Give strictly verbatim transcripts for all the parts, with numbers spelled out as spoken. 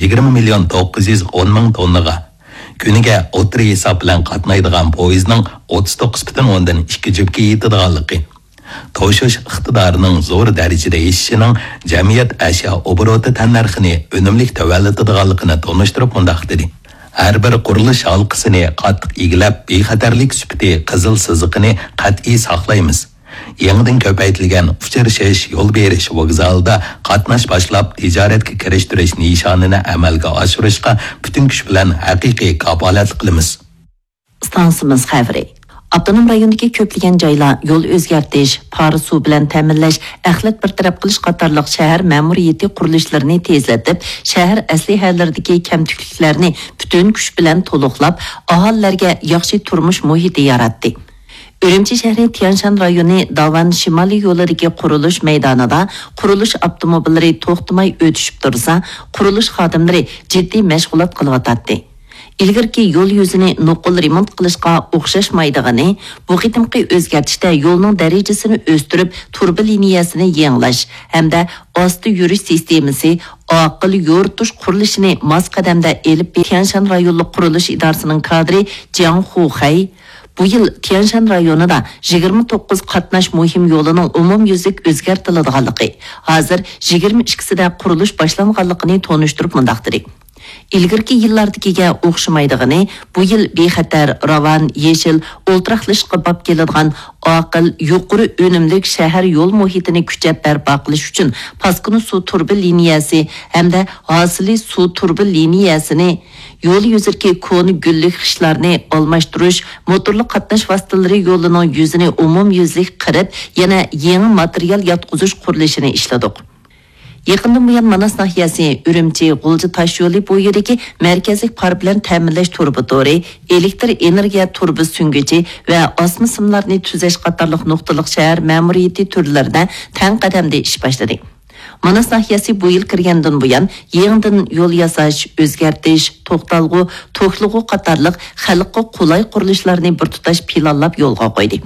يىگىرمە مىليون توققۇز يۈز ئون مىڭ توننىغا، كۈنىگە ئوتتۇرا ھېساب بىلەن قاتنايدىغان پويىزنىڭ ئوتتۇز توققۇز پۈتۈن ئوندىن ئىككى جۈپكە يېتىدىغانلىقى، توشۇش ئىقتىدارىنىڭ زور دەرىجىدە ئېشىشىنىڭ جەمئىيەت ئەشيا ئوبوروتى تەننەرخىنى ئۈنۈملۈك تۆۋەنلىتىدىغانلىقىنى تونۇشتۇرۇپ مۇنداق دېدى: ھەر بىر قۇرۇلۇش ھالقىسىنى قاتتىق ئىگىلەپ، بىخەتەرلىك سۈپىتى قىزىل سىزىقىنى قەتئىي ساقلايمىز. يېڭىدىن كۆپەيتىلگەن ئۇچرىشىش، يول بېرىش ۋوگزالىدا قاتناش باشلاپ، تىجارەتكە كىرىشتۈرۈش نىشانىنى ئەمەلگە ئاشۇرۇشقا پۈتۈن كۈچ بىلەن ھەقىقىي كاپالەتلىك قىلىمىز. ئىستانسىمىز خەۋىرى. ئاپتونوم رايوندىكى كۆپلىگەن جايلار يول ئۆزگەرتىش، پارە سۇ بىلەن تەمىنلەش، ئەخلەت بىر تەرەپ قىلىش قاتارلىق شەھەر مەمۇرىيىتى قۇرۇلۇشلىرىنى تېزلىتىپ، شەھەر ئەسلىھەلىرىدىكى كەمتۈكلۈكلەرنى پۈتۈن كۈچ بىلەن تولۇقلاپ، ئاھالىلەرگە ياخشى تۇرمۇش مۇھىتى ياراتتى. ئۈرۈمچى شەھىرى تيەنشان رايونى داۋان شىمالىي يولىدىكى قۇرۇلۇش مەيدانىدا قۇرۇلۇش ئاپتوموبىللىرى توختىماي ئۆتۈشۈپ تۇرسا، قۇرۇلۇش خادىملىرى جىددىي مەشغۇلات قىلىۋاتاتتى. ئىلگىرىكى يول يۈزىنى نوقۇل رېمونت قىلىشقا ئوخشاشمايدىغىنى، بۇ قېتىمقى ئۆزگەرتىشتە يولنىڭ دەرىجىسىنى ئۆستۈرۈپ، تۇرۇبا لىنىيەسىنى يېڭىلاش ھەمدە ئاستا يۈرۈش سىستېمىسى، ئاقىل يورۇتۇش قۇرۇلۇشىنى ماس قەدەمدە ئېلىپ بېرىش. تيەنشان رايونلۇق قۇرۇلۇش ئىدارىسىنىڭ كادىرى جياڭ خۇخەي بۇ يىل تيەنشان رايونىدا يىگىرمە توققۇز قاتناش مۇھىم يولىنىڭ ئومۇميۈزلۈك ئۆزگەرتىلىدىغانلىقى، ھازىر يىگىرمە ئىككىسىدە قۇرۇلۇش باشلانغانلىقىنى تونۇشتۇرۇپ مۇنداق دېدى: ئىلگىرىكى يىللاردىكىگە ئوخشىمايدىغىنى، بۇ يىل بىخەتەر، راۋان، يېشىل، ئولتۇراقلىشىشقا باب كېلىدىغان ئاقىل، يۇقىرى ئۈنۈملۈك شەھەر يول مۇھىتىنى كۈچەپ بەرپا قىلىش ئۈچۈن پاسكىنا سۇ تۇرۇبا لىنىيەسى ھەمدە ھاسىلى سۇ تۇرۇبا لىنىيەسىنى، يول يۈزىدىكى كونا گۈللۈك خىشلارنى ئالماشتۇرۇش، موتورلۇق قاتناش ۋاسىتىلىرى يولىنىڭ يۈزىنى ئومۇميۈزلۈك قىرىپ، يەنە يېڭى ماتېرىيال ياتقۇزۇش قۇرۇلۇشىنى ئىشلىدۇق. يېقىندىن بۇيان ماناس ناھىيەسى ئۈرۈمچى، غۇلجا تاشيولى بويىدىكى مەركەزلىك پار بىلەن تەمىنلەش تۇرۇبا تورى، ئېلېكتر ئېنېرگىيە تۇرۇبا سۈڭگۈچى ۋە ئاسما سىملارنى تۈزەش قاتارلىق نۇقتىلىق شەھەر مەمۇرىيىتى تۈرلىرىدە تەڭ قەدەمدە ئىش باشلىدى. ماناس ناھىيەسى بۇ يىل كىرگەندىن بۇيان، يېڭىدىن يول ياساش، ئۆزگەرتىش، توختالغۇ، توكلىغۇ قاتارلىق خەلققە قولاي قۇرۇلۇشلارنى بىر تۇتاش پىلانلاپ يولغا قويدى.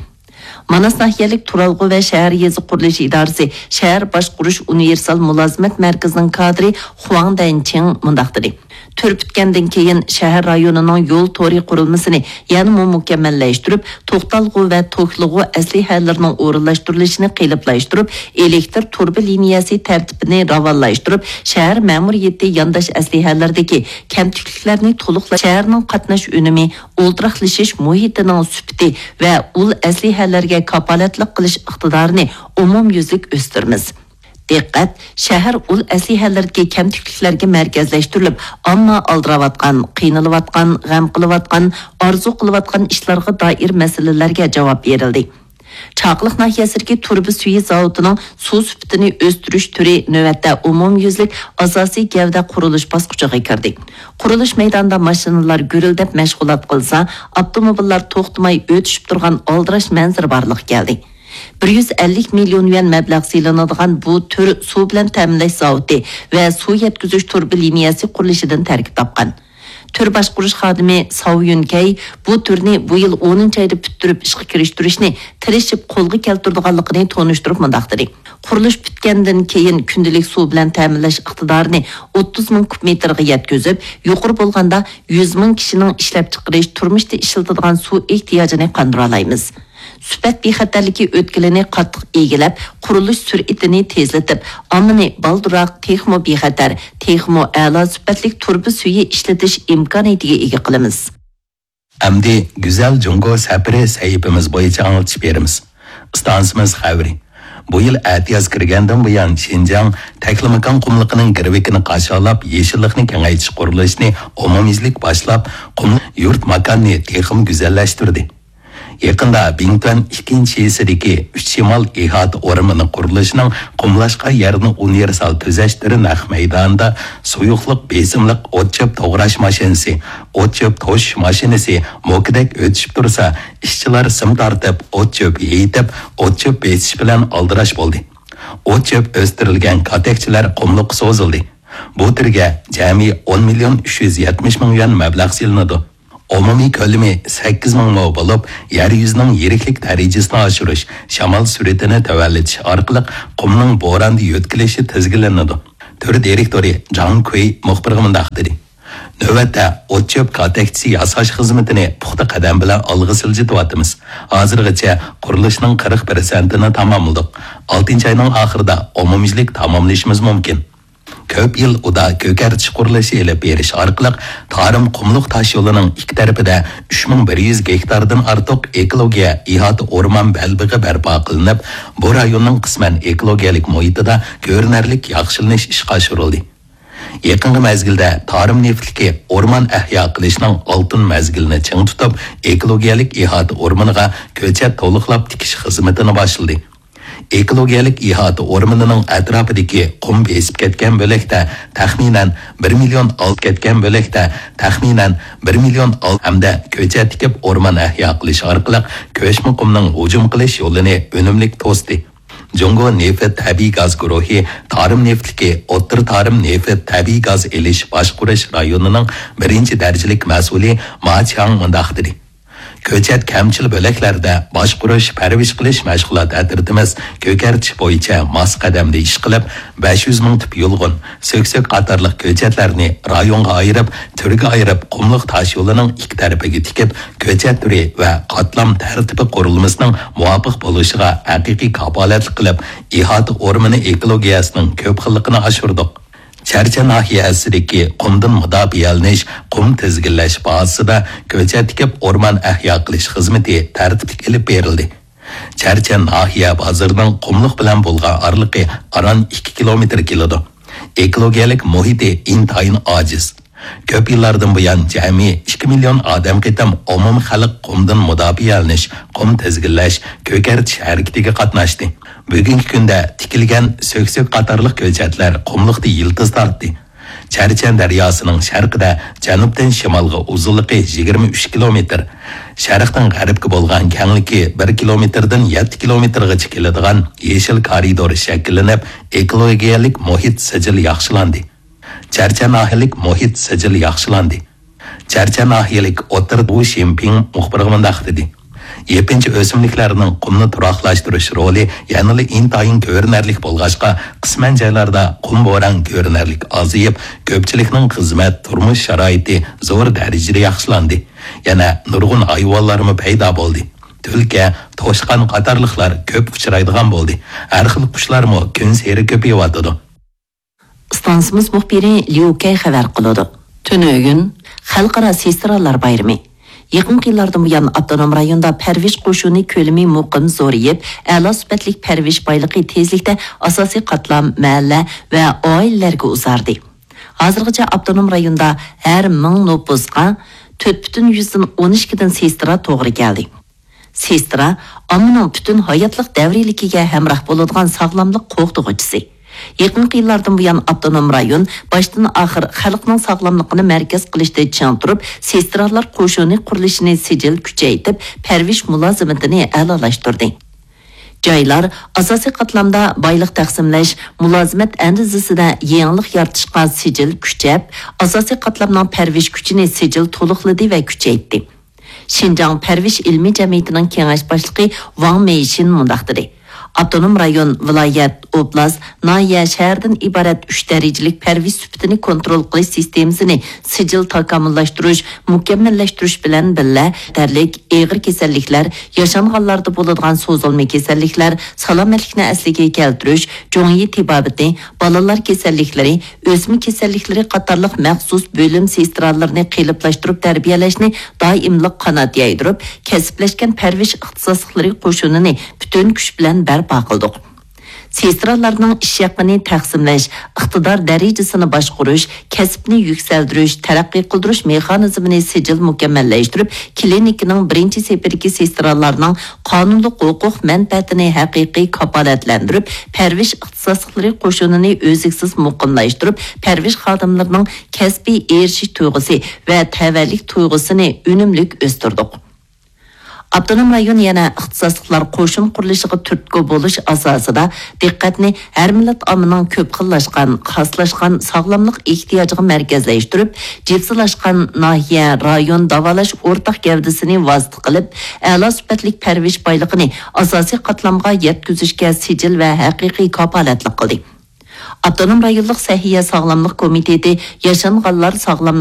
ماناس ناھىيەلىك تۇرالغۇ ۋە شەھەر يېزا قۇرۇلۇشى ئىدارىسى شەھەر باشقۇرۇش ئۇنىۋېرسال مۇلازىمەت مەركىزىنىڭ كادىرى خۇاڭ دەنچىڭ مۇنداق دېدى: تۈر پۈتكەندىن كېيىن، شەھەر رايونىنىڭ يول تورى قۇرۇلمىسىنى يەنىمۇ مۇكەممەللەشتۈرۈپ، توختالغۇ ۋە توكلىغۇ ئەسلىھەلىرىنىڭ ئورۇنلاشتۇرۇلۇشىنى قېلىپلاشتۇرۇپ، ئېلېكتر تۇرۇبا لىنىيەسى تەرتىپىنى راۋانلاشتۇرۇپ، شەھەر مەمۇرىيىتى يانداش ئەسلىھەلىرىدىكى كەمتۈكلۈكلەرنى تولۇقلاپ، شەھەرنىڭ قاتناش ئۈنۈمى، ئولتۇراقلىشىش مۇھىتىنىڭ سۈپىتى ۋە ئۇل ئەسلىھەلەرگە كاپالەتلىك قىلىش ئىقتىدارىنى ئومۇميۈزلۈك ئۆستۈرىمىز. دىققەت، شەھەر ئۇل ئەسلىھەلىرىدىكى كەمتۈكلۈكلەرگە مەركەزلەشتۈرۈلۈپ، ئامما ئالدىراۋاتقان، قىينىلىۋاتقان، غەم قىلىۋاتقان، ئارزۇ قىلىۋاتقان ئىشلارغا دائىر مەسىلىلەرگە جاۋاب بېرىلدى. چاقىلىق ناھىيەسىدىكى تۇرۇبا سۈيى زاۋۇتىنىڭ سۇ سۈپىتىنى ئۆستۈرۈش تۈرى نۆۋەتتە ئومۇميۈزلۈك ئاساسىي گەۋدە قۇرۇلۇش باسقۇچىغا كىردى. قۇرۇلۇش مەيدانىدا ماشىنىلار گۈرۈلدەپ مەشغۇلات قىلسا، ئاپتوموبىللار توختىماي ئۆتۈشۈپ تۇرغان ئالدىراش مەنزىرە بارلىققا كەلدى. بىر يۈز ئەللىك مىليون يۈەن مەبلەغ سېلىنىدىغان بۇ تۈر سۇ بىلەن تەمىنلەش زاۋۇتى ۋە سۇ يەتكۈزۈش تۇرۇبا لىنىيەسى قۇرۇلۇشىدىن تەركىب تاپقان. تۈر باشقۇرۇش خادىمى ساۋ يۈنكەي بۇ تۈرنى بۇ يىل ئونىنچى ئايدا پۈتتۈرۈپ ئىشقا كىرىشتۈرۈشنى تىرىشىپ قولغا كەلتۈرىدىغانلىقىنى تونۇشتۇرۇپ مۇنداق دېدى: قۇرۇلۇش پۈتكەندىن كېيىن، كۈندىلىك سۇ بىلەن تەمىنلەش ئىقتىدارىنى ئوتتۇز مىڭ كۇب مېتىرغا يەتكۈزۈپ، يۇقىرى بولغاندا يۈز مىڭ كىشىنىڭ ئىشلەپچىقىرىش، تۇرمۇشتا ئىشلىتىدىغان سۇ ئېھتىياجىنى قاندۇرالايمىز. سۈپەت بىخەتەرلىكى ئۆتكىلىنى قاتتىق ئىگىلەپ، قۇرۇلۇش سۈرئىتىنى تېزلىتىپ، ئاممىنى بالدۇرراق، تېخىمۇ بىخەتەر، تېخىمۇ ئەلا سۈپەتلىك تۇرۇبا سۈيى ئىشلىتىش ئىمكانىيىتىگە ئىگە قىلىمىز. ئەمدى گۈزەل جۇڭگو سەپىرى سەھىپىمىز بويىچە ئاڭلىتىش بېرىمىز. ئىستانسىمىز خەۋىرى. بۇ يىل ئەتىياز كىرگەندىن بۇيان، شىنجاڭ تەكلىماكان قۇملۇقىنىڭ گىرۋىكىنى قاشالاپ، يېشىللىقنى كېڭەيتىش قۇرۇلۇشىنى ئومۇميۈزلۈك باشلاپ، قۇملۇق يۇرت ماكاننى تېخىمۇ گۈزەللەشتۈردى. يېقىندا بىڭتۈەن ئىككىنچى شىسىدىكى ئۈچ شىمال ئىھاتە ئورمىنى قۇرۇلۇشىنىڭ قۇملاشقان يەرنى ئۇنىۋېرسال تۈزەشتۈرى نەق مەيدانىدا سۇيۇقلۇق بېسىملىق ئوت-چۆپ توغراش ماشىنىسى، ئوت-چۆپ توشۇش ماشىنىسى موكىدەك ئۆتۈشۈپ تۇرسا، ئىشچىلار سىم تارتىپ، ئوت-چۆپ يېيىتىپ، ئوت-چۆپ بېسىش بىلەن ئالدىراش بولدى. ئوت-چۆپ ئۆستۈرۈلگەن كاتەكچىلەر قۇملۇققا سوزۇلدى. بۇ تۈرگە جەمئىي ئون مىليون ئۈچ يۈز يەتمىش مىڭ يۈەن مەبلەغ سېلىنىدۇ. ئومۇمىي كۆلىمى سەككىز مىڭ مو بولۇپ، يەر يۈزىنىڭ يىرىكلىك دەرىجىسىنى ئاشۇرۇش، شامال سۈرئىتىنى تۆۋەنلىتىش ئارقىلىق قۇمنىڭ بوراندا يۆتكىلىشى تىزگىنلىنىدۇ. تۈر دىرېكتورى جاڭ كۇي مۇخبىرغا مۇنداق دېدى: نۆۋەتتە ئوت-چۆپ كاتەكچىسى ياساش خىزمىتىنى پۇختا قەدەم بىلەن ئالغا سىلجىتىۋاتىمىز. ھازىرغىچە قۇرۇلۇشنىڭ قىرىق پىرسەنتىنى تاماملىدۇق. ئالتىنچى ئاينىڭ ئاخىرىدا ئومۇميۈزلۈك تاماملىشىمىز مۇمكىن. كۆپ يىل ئۇدا كۆكەرتىش قۇرۇلۇشى ئېلىپ بېرىش ئارقىلىق تارىم قۇملۇق تاشيولىنىڭ ئىككى تەرىپىدە ئۈچ مىڭ بىر يۈز گېكتاردىن ئارتۇق ئېكولوگىيە ئىھاتە ئورمان بەلبېغى بەرپا قىلىنىپ، بۇ رايوننىڭ قىسمەن ئېكولوگىيەلىك مۇھىتىدا كۆرۈنەرلىك ياخشىلىنىش ئىشقا ئاشۇرۇلدى. يېقىنقى مەزگىلدە تارىم نېفىتلىكى ئورمان ئەھيا قىلىشنىڭ ئالتۇن مەزگىلىنى چىڭ تۇتۇپ، ئېكولوگىيەلىك ئىھاتە ئورمىنىغا كۆچەت تولۇقلاپ تىكىش خىزمىتىنى باشلىدى. ئېكولوگىيەلىك ئىھاتە ئورمىنىنىڭ ئەتراپىدىكى قۇم بېسىپ كەتكەن بۆلەكتە تەخمىنەن بىر مىليون ئال-، كەتكەن بۆلەكتە تەخمىنەن بىر مىليون ئال-، ھەمدە كۆچەت تىكىپ ئورمان ئەھيا قىلىش ئارقىلىق كۆچمە قۇمنىڭ ھۇجۇم قىلىش يولىنى ئۈنۈملۈك توستى. جۇڭگو نېفىت تەبىئىي گاز گۇرۇھى تارىم نېفىتلىكى ئوتتۇرا تارىم نېفىت تەبىئىي گاز ئېلىش باشقۇرۇش رايونىنىڭ بىرىنچى دەرىجىلىك مەسئۇلى ما چياڭ مۇنداق دېدى: كۆچەت كەمچىل بۆلەكلەردە باشقۇرۇش، پەرۋىش قىلىش مەشغۇلات ئەترىتىمىز كۆكەرتىش بويىچە ماس قەدەمدە ئىش قىلىپ، بەش يۈز مىڭ تۈپ يۇلغۇن، سۆكسۆك قاتارلىق كۆچەتلەرنى رايونغا ئايرىپ، تۈرگە ئايرىپ، قۇملۇق تاشيولىنىڭ ئىككى تەرىپىگە تىكىپ، كۆچەت تۈرى ۋە قاتلام تەرتىپى قۇرۇلمىسىنىڭ مۇۋاپىق بولۇشىغا ھەقىقىي كاپالەتلىك قىلىپ، ئىھاتە ئورمىنى ئېكولوگىيەسىنىڭ كۆپ خىللىقىنى ئاشۇردۇق. چەرچەن ناھىيەسىدىكى قۇمدىن مۇداپىئەلىنىش، قۇم تىزگىنلەش بازىسىدا كۆچەت تىكىپ ئورمان ئەھيا قىلىش خىزمىتى تەرتىپلىك ئېلىپ بېرىلدى. چەرچەن ناھىيە بازىرىنىڭ قۇملۇق بىلەن بولغان ئارىلىقى ئاران ئىككى كىلومېتىر كېلىدۇ. ئېكولوگىيەلىك مۇھىتى ئىنتايىن ئاجىز. كۆپ يىللاردىن بۇيان جەمئىي ئىككى مىليون ئادەم قېتىم ئومۇمخەلق قۇمدىن مۇداپىئەلىنىش، قۇم تىزگىنلەش، كۆكەرتىش ھەرىكىتىگە قاتناشتى. بۈگۈنكى كۈندە تىكىلگەن سۆكسۆك قاتارلىق كۆچەتلەر قۇملۇقتا يىلتىز تارتتى. چەرچەن دەرياسىنىڭ شەرقىدە جەنۇبتىن شىمالغا ئۇزۇنلۇقى يىگىرمە ئۈچ كىلومېتىر، شەرقتىن غەربكە بولغان كەڭلىكى بىر كىلومېتىردىن يەتتە كىلومېتىرغىچە كېلىدىغان يېشىل كارىدور شەكىللىنىپ، ئېكولوگىيەلىك مۇھىت سىجىل ياخشىلاندى. چەرچەن ناھىيەلىك مۇھىت سىجىل ياخشىلاندى. چەرچەن ناھىيەلىك ئوتتۇرا ۋۇ شىنپىڭ مۇخبىرغا مۇنداق دېدى: يېپىنچا ئۆسۈملۈكلەرنىڭ قۇمنى تۇراقلاشتۇرۇش رولى يەنىلا ئىنتايىن كۆرۈنەرلىك بولغاچقا، قىسمەن جايلاردا قۇم بوران كۆرۈنەرلىك ئازىيىپ، كۆپچىلىكنىڭ خىزمەت، تۇرمۇش شارائىتى زور دەرىجىدە ياخشىلاندى. يەنە نۇرغۇن ھايۋانلارمۇ پەيدا بولدى. تۈلكە، توشقان قاتارلىقلار كۆپ ئۇچرايدىغان بولدى. ھەر خىل قۇشلارمۇ كۈنسېرى كۆپىيىۋاتىدۇ. ئىستانسىمىز مۇخبىرى ليۇ كەي خەۋەر قىلىدۇ. تۈنۈگۈن خەلقئارا سېسترالار بايرىمى. يېقىنقى يىللاردىن بۇيان، ئاپتونوم رايوندا پەرۋىش قوشۇنى كۆلىمى مۇقىم زورىيىپ، ئەلا سۈپەتلىك پەرۋىش بايلىقى تېزلىكتە ئاساسىي قاتلام، مەھەللە ۋە ئائىلىلەرگە ئۇزاردى. ھازىرغىچە ئاپتونوم رايوندا ھەر مىڭ نوپۇسقا تۆت پۈتۈن يۈزدىن ئون ئىككىدىن سېسترا توغرا كەلدى. سېسترا ئاممىنىڭ پۈتۈن ھاياتلىق دەۋرىيلىكىگە ھەمراھ بولىدىغان ساغلاملىق قوغدىغۇچىسى. يېقىنقى يىللاردىن بۇيان، ئاپتونوم رايون باشتىن ئاخىر خەلقنىڭ ساغلاملىقىنى مەركەز قىلىشتا چىڭ تۇرۇپ، سېسترالار قوشۇنى قۇرۇلۇشىنى سىجىل كۈچەيتىپ، پەرۋىش مۇلازىمىتىنى ئەلالاشتۇردى. جايلار ئاساسىي قاتلامدا بايلىق تەقسىملەش، مۇلازىمەت ئەندىزىسىدە يېڭىلىق يارىتىشقا سىجىل كۈچەپ، ئاساسىي قاتلامنىڭ پەرۋىش كۈچىنى سىجىل تولۇقلىدى ۋە كۈچەيتتى. شىنجاڭ پەرۋىش ئىلمىي جەمئىيىتىنىڭ كېڭەش باشلىقى ۋاڭ مېيشىن مۇنداق دېدى: ئاپتونوم رايون، ۋىلايەت، ئوبلاست، ناھىيە، شەھەردىن ئىبارەت ئۈچ دەرىجىلىك پەرۋىش سۈپىتىنى كونترول قىلىش سىستېمىسىنى سىجىل تاكامۇللاشتۇرۇش، مۇكەممەللەشتۈرۈش بىلەن بىللە، خەتەرلىك ئېغىر كېسەللىكلەر، ياشانغانلاردا بولىدىغان سوزۇلما كېسەللىكلەر، سالامەتلىكنى ئەسلىگە كەلتۈرۈش، جۇڭيى تېبابىتى، بالىلار كېسەللىكلىرى، ئۆسمە كېسەللىكلىرى قاتارلىق مەخسۇس بۆلۈم سېسترالىرىنى قېلىپلاشتۇرۇپ تەربىيەلەشنى دائىملىق قانات يايدۇرۇپ، كەسىپلەشكەن پەرۋىش ئىختىساسلىقلىرى قوشۇنىنى پۈتۈن كۈچ بىلەن بەرپا قىلدۇق. سېسترالارنىڭ ئىش ھەققىنى تەقسىملەش، ئىقتىدار دەرىجىسىنى باشقۇرۇش، كەسىپنى يۈكسەلدۈرۈش، تەرەققىي قىلدۇرۇش مېخانىزمىنى سىجىل مۇكەممەللەشتۈرۈپ، كلىنىكىنىڭ بىرىنچى سېپىدىكى سېسترالارنىڭ قانۇنلۇق ھوقۇق مەنپەئەتىنى ھەقىقىي كاپالەتلەندۈرۈپ، پەرۋىش ئىختىساسلىقلىرى قوشۇنىنى ئۈزلۈكسىز مۇقىملاشتۇرۇپ، پەرۋىش خادىملىرىنىڭ كەسپىي ئېرىشىش تۇيغۇسى ۋە تەۋەلىك تۇيغۇسىنى ئۈنۈملۈك ئۆستۈردۇق. ئاپتونوم رايون يەنە ئىختىساسلىقلار قوشۇن قۇرۇلۇشىغا تۈرتكە بولۇش ئاساسىدا دىققەتنى ھەر مىللەت ئاممىنىڭ كۆپ خىللاشقان، خاسلاشقان ساغلاملىق ئېھتىياجىغا مەركەزلەشتۈرۈپ، جىپسىلاشقان ناھىيە، رايون داۋالاش ئورتاق گەۋدىسىنى ۋاسىتە قىلىپ، ئەلا سۈپەتلىك پەرۋىش بايلىقىنى ئاساسىي قاتلامغا يەتكۈزۈشكە سىجىل ۋە ھەقىقىي كاپالەتلىك قىلدى. ئاپتونوم رايونلۇق سەھىيە ساغلاملىق كومىتېتى ياشانغانلار ساغلاملىق